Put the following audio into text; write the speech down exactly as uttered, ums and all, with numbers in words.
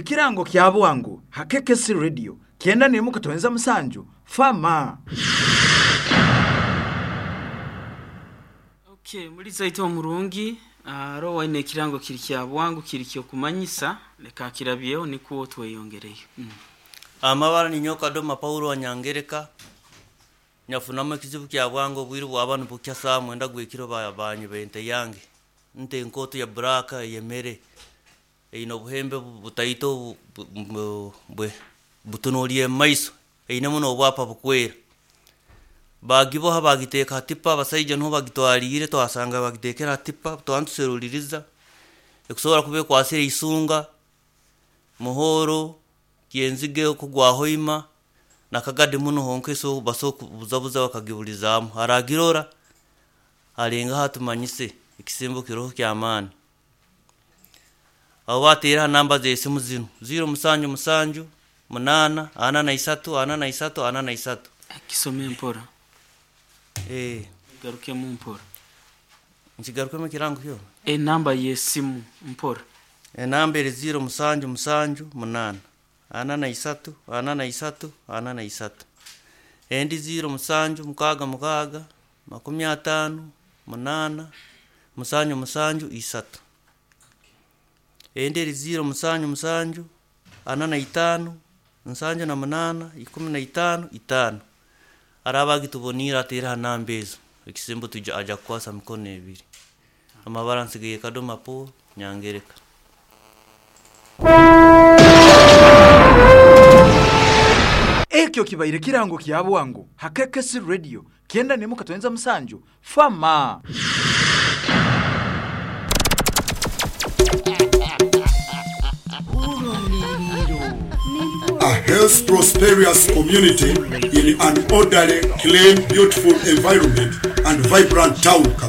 Ekirango kya bwangu ha K K C Radio kyenda nemu katonza musanju fama. Okay, muri zaito omurungi aro waine ekirango kiri kya bwangu, kiri kyokumanyisa, leka kirabyeho nikuwo tweyongereyo. mm. Amabara ni nyoka doma Paulo wanyangereka nyafunamu ekizibu kya bwangu. Obwire bwaba nibukya saa mwenda gwekiro, banyi bente yange nte enkoto ya buraka eyemere eine obuhembe bu- butaito, bu- bu- butunuliire mumaiso, einemu n'obwapa bukwera. Bagiboha bagiteeka ha tipa, abasaija nuho bagitwaliire. Twasanga bagitekere ha tipa, twantuseruliriza ekusobora kuba ekwasire isunga, muhoro, kyenzige kugwa hoima nakagadi muno honka eso baso kubuzabuza bakagibulizaamu. Aragirora alengaho atumanyise, ekisimbo kiroho ky'amaani. Abo bateera ha namba z'esimu zinu: ziro musanju musanju munaana ana na isatu ana na isatu ana na isatu. Kisome mpora. Eh. Garukemu mpora. Nkigarukemu ekirango kyo. Enamba y'esimu mpora. Enamba eri ziro musanju musanju munaana ana na isatu ana na isatu ana na isatu. Endi ziro musanju mukaaga mukaaga makumi ataano munaana musanju musanju isatu. Endi eri ziro musanju musanju ana na itaano nsanju na munaana ikumi na itaano itaano. Araaba agituboniire ateere ha namba ezo, ekisembo twija aja kukwasa mikono ebiri. Amabara nsigaire Kadoma Paul Nyangereka. Ekyo kibaire kirango kya bwangu ha K K C Radio kyenda nemu katonza musanju fama. A health prosperous community in an orderly, clean, beautiful environment and vibrant town.